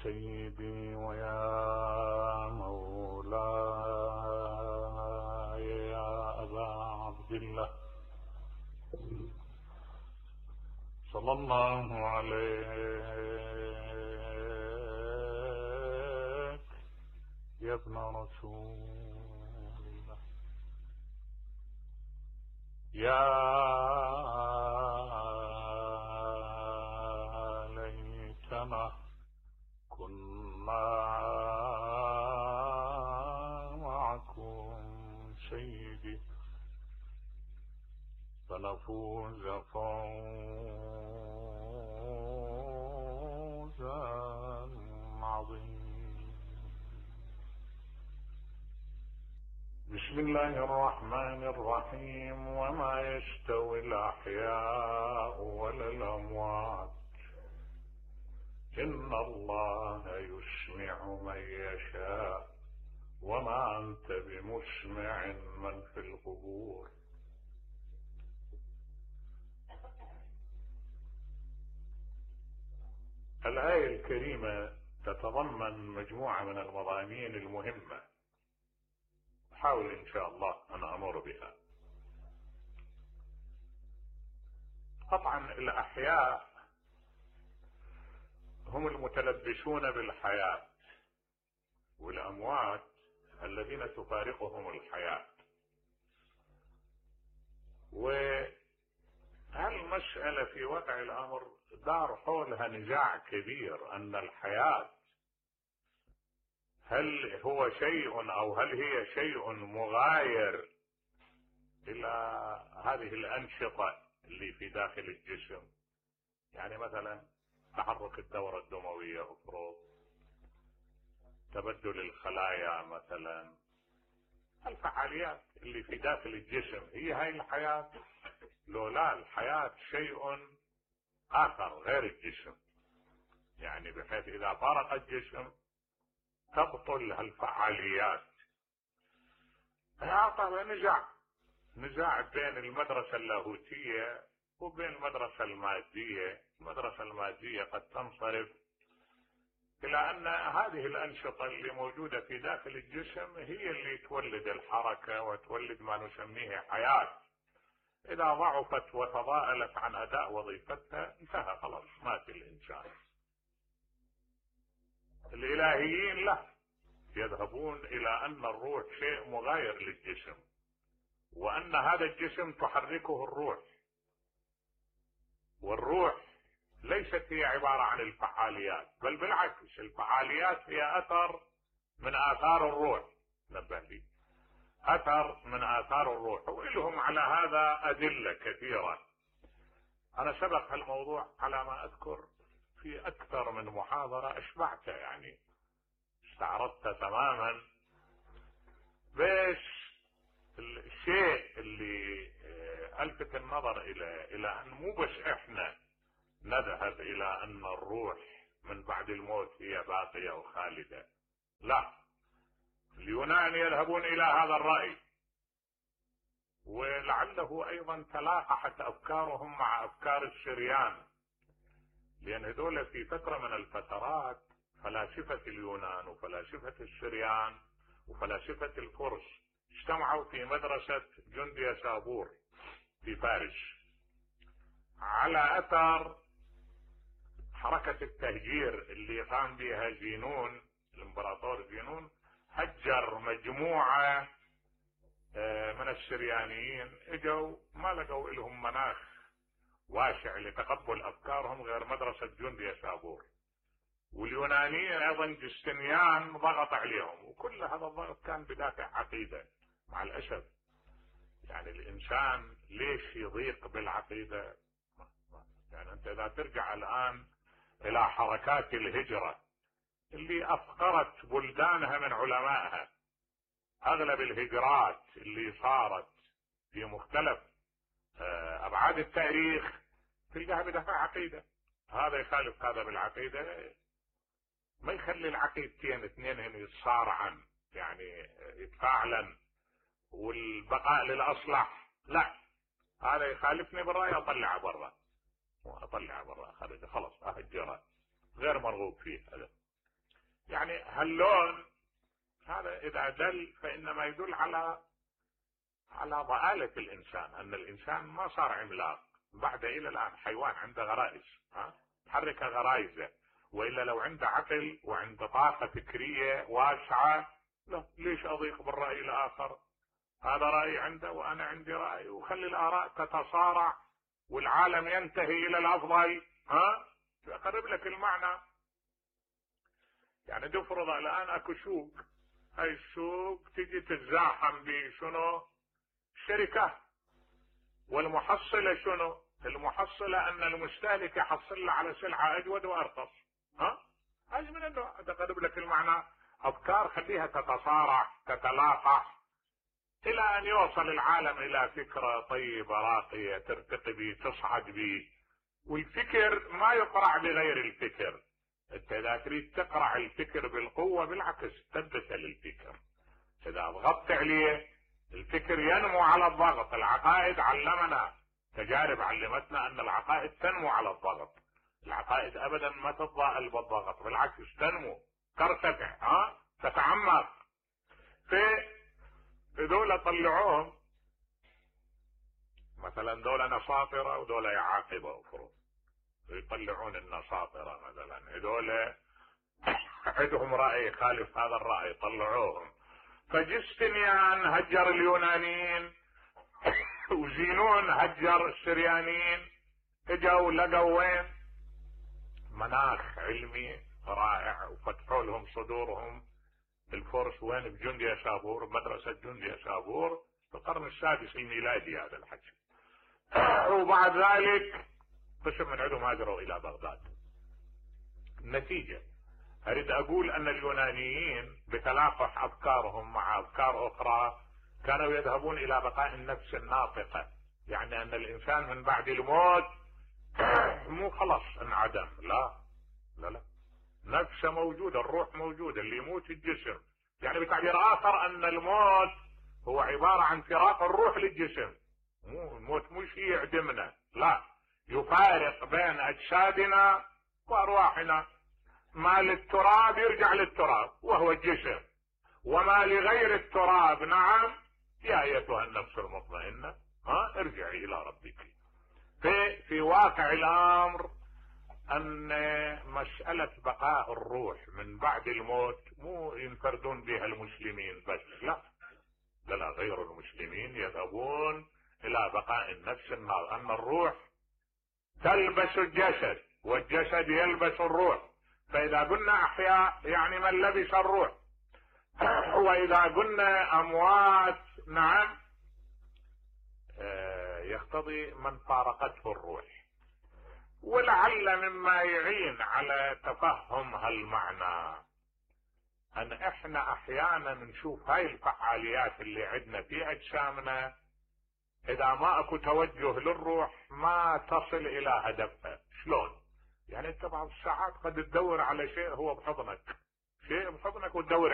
سيدي ويا مولاي يا أبا عبد الله، صلى الله عليك يا ابن رسول الله. يا ليتنا كنا معكم سيدي فنفوز فوزا عظيما. بسم الله الرحمن الرحيم. وما يستوي الأحياء ولا الأموات إن الله يسمع من يشاء وما أنت بمسمع من في القبور. الآية الكريمة تتضمن مجموعة من المضامين المهمة، أحاول إن شاء الله أن أمر بها. طبعا الأحياء هم المتلبسون بالحياة، والأموات الذين تفارقهم الحياة. وهالمسألة في واقع الأمر دار حولها نزاع كبير، أن الحياة هل هو شيء أو هل هي شيء مغاير إلى هذه الأنشطة اللي في داخل الجسم. يعني مثلا تحرك الدورة الدموية، افرض تبدل الخلايا، مثلا الفعاليات اللي في داخل الجسم هي هاي الحياة؟ لو لا، الحياة شيء آخر غير الجسم، يعني بحيث إذا فارق الجسم تبطل هالفعاليات. طبعا نزاع بين المدرسة اللاهوتية وبين المدرسة المادية. المدرسة المادية قد تنصرف إلى أن هذه الأنشطة اللي موجودة في داخل الجسم هي اللي تولد الحركة وتولد ما نسميه حياة. إذا ضعفت وتضاءلت عن أداء وظيفتها انتهى، خلاص مات الإنسان. الإلهيين لا، يذهبون إلى أن الروح شيء مغاير للجسم، وأن هذا الجسم تحركه الروح، والروح ليست هي عبارة عن الفعاليات، بل بالعكس الفعاليات هي أثر من آثار الروح. نبه لي، أثر من آثار الروح، وإلهم على هذا أدلة كثيرة. أنا سبق هالموضوع على ما أذكر في أكثر من محاضرة أشبعته، يعني استعرضته تماما. بس الشيء اللي ألفت النظر إلى أن مو بس إحنا نذهب إلى أن الروح من بعد الموت هي باقية وخالدة، لا، اليونان يذهبون إلى هذا الرأي، ولعله أيضا تلاقحت أفكارهم مع أفكار السريان، لأن هذول في فترة من الفترات فلاسفة اليونان وفلاسفة السريان وفلاسفة الفرس اجتمعوا في مدرسة جندي سابور في فارس على أثر حركة التهجير اللي قام بها زينون، الامبراطور زينون. هجر مجموعة من السريانيين، اجوا ما لقوا لهم مناخ واسع لتقبل افكارهم غير مدرسة جندي سابور. واليونانيين ايضا جستنيان ضغط عليهم، وكل هذا الضغط كان بدافع عقيدة. مع الاسف يعني الانسان ليش يضيق بالعقيدة؟ يعني انت اذا ترجع الان الى حركات الهجرة اللي افقرت بلدانها من علمائها، اغلب الهجرات اللي صارت في مختلف ابعاد التاريخ تلقاها بدافع عقيدة. هذا يخالف هذا بالعقيدة، ما يخلي العقيدتين اثنين يتصارعن، يعني يتفاعلن والبقاء للاصلح، لا، هذا يخالفني بالرأي اطلعه برا، خارج خلاص اهجره، غير مرغوب فيه هذا. يعني هاللون هذا اذا دل فانما يدل على ضآلة الانسان، ان الانسان ما صار عملاق، بعد الى الان حيوان عنده غرائز، تحرك غرائزه، والا لو عنده عقل وعنده طاقة فكرية واسعة، لا ليش اضيق بالرأي الاخر؟ هذا رأي عنده وانا عندي رأي، وخلي الاراء تتصارع والعالم ينتهي الى الافضل. اقرب لك المعنى. يعني تفرض الان اكو سوق، هاي السوق تجي تتزاحم بشنو؟ شركة، والمحصلة شنو؟ المحصلة ان المستهلك يحصل له على سلعة اجود وارخص. هذه من النوع، تقرب لك المعنى. افكار خليها تتصارع تتلاقح الى ان يوصل العالم الى فكرة طيبة راقية ترتقي به تصعد به. والفكر ما يقرع بغير الفكر، انت اذا تريد تقرع الفكر بالقوة بالعكس تنبت للفكر، اذا ضغطت عليه الفكر ينمو على الضغط. العقائد علمنا، تجارب علمتنا ان العقائد تنمو على الضغط، العقائد ابدا ما تتضاءل بالضغط، بالعكس تنمو ترتفع تتعمق. في دولة طلعوهم مثلا دولة نصاطرة ودولة يعاقبة افرض، يطلعون النصاطرة مثلا، هذول عندهم رأي خالف هذا الرأي طلعوهم. فجستنيان هجر اليونانيين وزينون هجر السريانيين، اجوا لقوا وين؟ مناخ علمي رائع، وفتحوا لهم صدورهم. الفرس وين؟ بجندية شابور، مدرسة جندية شابور في القرن السادس الميلادي هذا الحكي. وبعد ذلك قسم من عندهم هاجروا الى بغداد. النتيجة اريد اقول ان اليونانيين بتلاقح افكارهم مع افكار اخرى كانوا يذهبون الى بقاء النفس الناطقة، يعني ان الانسان من بعد الموت مو خلاص انعدم، لا لا لا، نفسه موجودة، الروح موجودة، اللي يموت الجسم. يعني بتعبير اخر ان الموت هو عبارة عن فراق الروح للجسم، مو الموت مو شيء يعدمنا، لا، يفارق بين اجسادنا وارواحنا. ما للتراب يرجع للتراب وهو الجسم، وما لغير التراب نعم يا ايتها النفس المطمئنة ارجعي الى ربك. في واقع الامر ان مسألة بقاء الروح من بعد الموت مو ينفردون بها المسلمين بس، لا لا لا، غير المسلمين يذهبون الى بقاء النفس النار، ان الروح تلبس الجسد والجسد يلبس الروح. فاذا قلنا احياء يعني من لبس الروح، واذا قلنا اموات نعم يقتضي من فارقته الروح. ولعل مما يعين على تفهم هالمعنى ان احنا احيانا نشوف هاي الفعاليات اللي عندنا في اجسامنا، اذا ما اكو توجه للروح ما تصل الى هدفها. شلون؟ يعني انت بعض الساعات قد تدور على شيء هو بحضنك، شيء بحضنك وتدور